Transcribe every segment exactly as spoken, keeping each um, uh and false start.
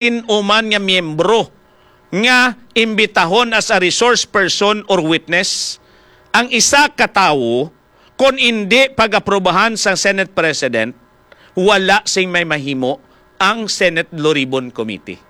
sin-o man nga miyembro nga imbitahon as a resource person or witness ang isa ka tawo, kon indi pag-aprobahan sang Senate President, wala sing may mahimo ang Senate Blue Ribbon Committee.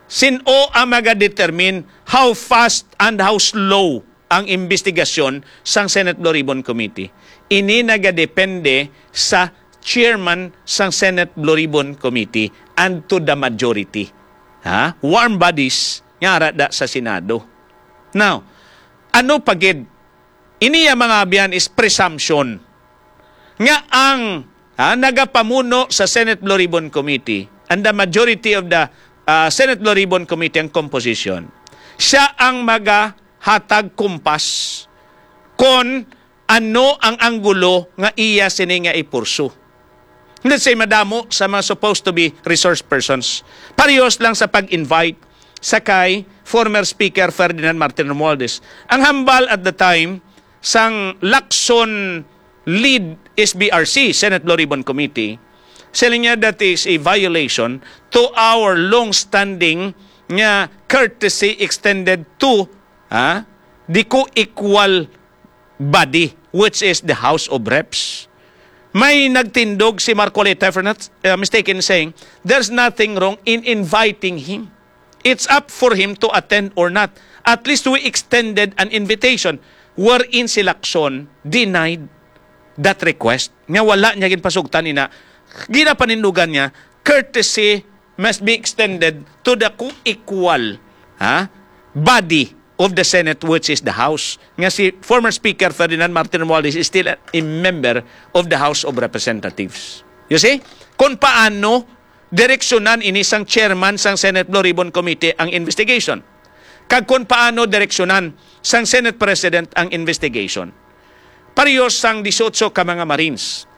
Sin-o ang magadetermine how fast and how slow ang investigasyon sang Senate Blue Ribbon Committee? Ini nagadepende sa chairman sang Senate Blue Ribbon Committee and to the majority. Ha? Warm bodies nga ara da sa Senado. Now, ano pa gid? Ini, ya mga abyan, is presumption nga ang, ha, nagapamuno sa Senate Blue Ribbon Committee and the majority of the, ah, Senate Blue Ribbon Committee ang composition, siya ang magahatag kumpas kon ano ang anggulo nga iya sini nga ipursu. Let's say, madamo sa mga supposed to be resource persons. Parehas lang sa pag-invite sa kay former Speaker Ferdinand Martin Romualdez. Ang hambal at the time sang Lacson lead S B R C, Senate Blue Ribbon Committee, sila niya that is a violation to our long-standing nga courtesy extended to, ah, the co-equal body, which is the House of Reps. May nagtindog si Marcoleta, if I'm not, uh, mistaken, saying, "There's nothing wrong in inviting him. It's up for him to attend or not. At least we extended an invitation," wherein si Lacson denied that request. Nga wala niya ginpasugtan ina, ginapanindugan niya, courtesy must be extended to the co-equal, ha, body of the Senate, which is the House. Nga si former Speaker Ferdinand Martin Romualdez is still a, a member of the House of Representatives. You see? Kung paano direksyonan ini sang chairman sang Senate Blue Ribbon Committee ang investigation, kag kung paano direksyonan sang Senate President ang investigation. Parehas sang dieciocho ka mga Marines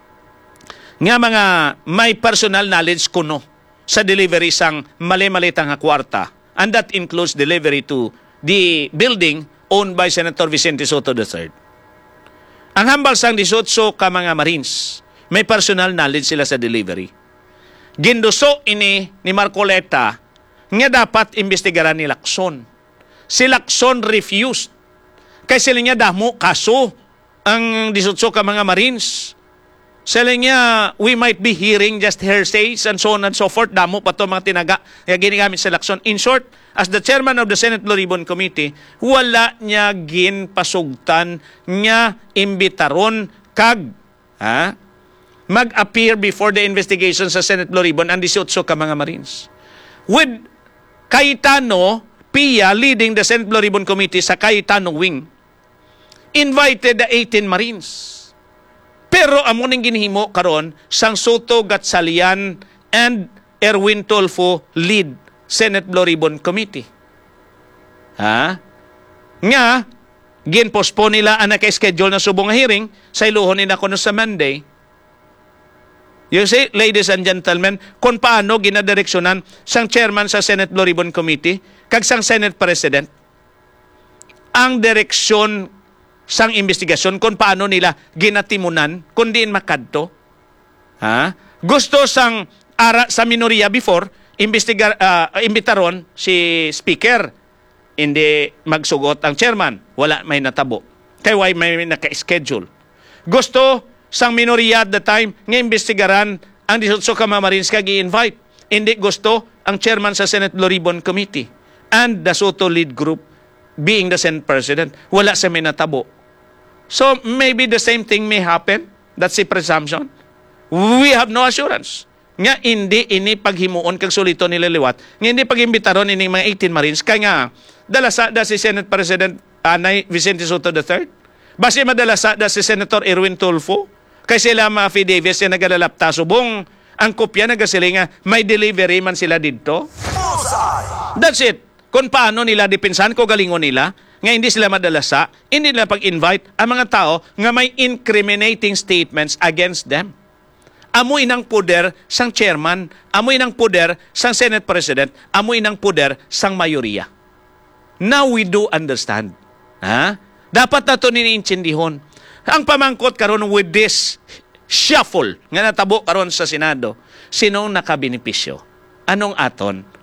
nga mga may personal knowledge kuno sa delivery sang mali-mali ta nga kwarta, and that includes delivery to the building owned by Senator Vicente Sotto the third. Ang hambal sang dieciocho ka mga Marines, may personal knowledge sila sa delivery. Ginduso ini ni Marcoleta nga dapat imbestigaran ni Lacson. Si Lacson refused. Kay sila niya, damo kaso ang dieciocho ka mga Marines. Sila niya, we might be hearing just hearsays and so on and so forth. Damo pa to mga tinaga nga ginagamit sa Lacson. In short, as the chairman of the Senate Blue Ribbon Committee, wala niya ginpasugtan nga imbitaron kag, ha, mag-appear before the investigation sa Senate Blue Ribbon ang dieciocho ka mga Marines. With Cayetano Pia leading the Senate Blue Ribbon Committee sa Cayetano Wing, invited the eighteen Marines. Pero amo ning ginhimo karon sang Sotto, Gatchalian, and Erwin Tulfo lead Senate Blue Ribbon Committee. Ha? Nga, gin-postpone nila ang naka-schedule na subong nga hearing, sayluhon nila kuno sa Monday. You see, ladies and gentlemen, kung paano ginadireksyonan sang chairman sa Senate Blue Ribbon Committee kag sang Senate President ang direksyon sang investigasyon, kung paano nila ginatimunan kung diin makadto. Ha? Gusto sang ara sa minorya before, imbestigar-, ah, imbitaron si Speaker. Hindi magsugot ang chairman, wala may natabo. Kay why may naka-schedule? Gusto sang minorya at the time nga imbestigaran ang dieciocho ka mga Marines kag i-invite. Hindi gusto ang chairman sa Senate Blue Ribbon Committee and the Sotto lead group being the Senate President. Wala sa may natabo. So, maybe the same thing may happen. That's a presumption. We have no assurance nga hindi ini paghimuon kag suliton nila liwat, nga hindi pag-imbitaron ining mga eighteen Marines, kay nga dala sa da si Senate President Anay Vicente Sotto the third. Basi madala sa da si Senator Erwin Tulfo, kay sila mga affidavits nga nagalalapta subong ang kopya nagasiling nga may delivery man sila didto. Bullseye! That's it. Kung paano nila depensahan, kaugalingon nila, nga hindi sila madala sa, hindi nila pag-invite ang mga tao nga may incriminating statements against them. Amo inang poder sang chairman, amo inang poder sang Senate President, amo inang poder sang mayoriya. Now we do understand. Ha? Dapat nato nini intindihon. Ang pamangkot karon with this shuffle nga natabo karon sa Senado, sinong nakabenepisyo? Anong aton?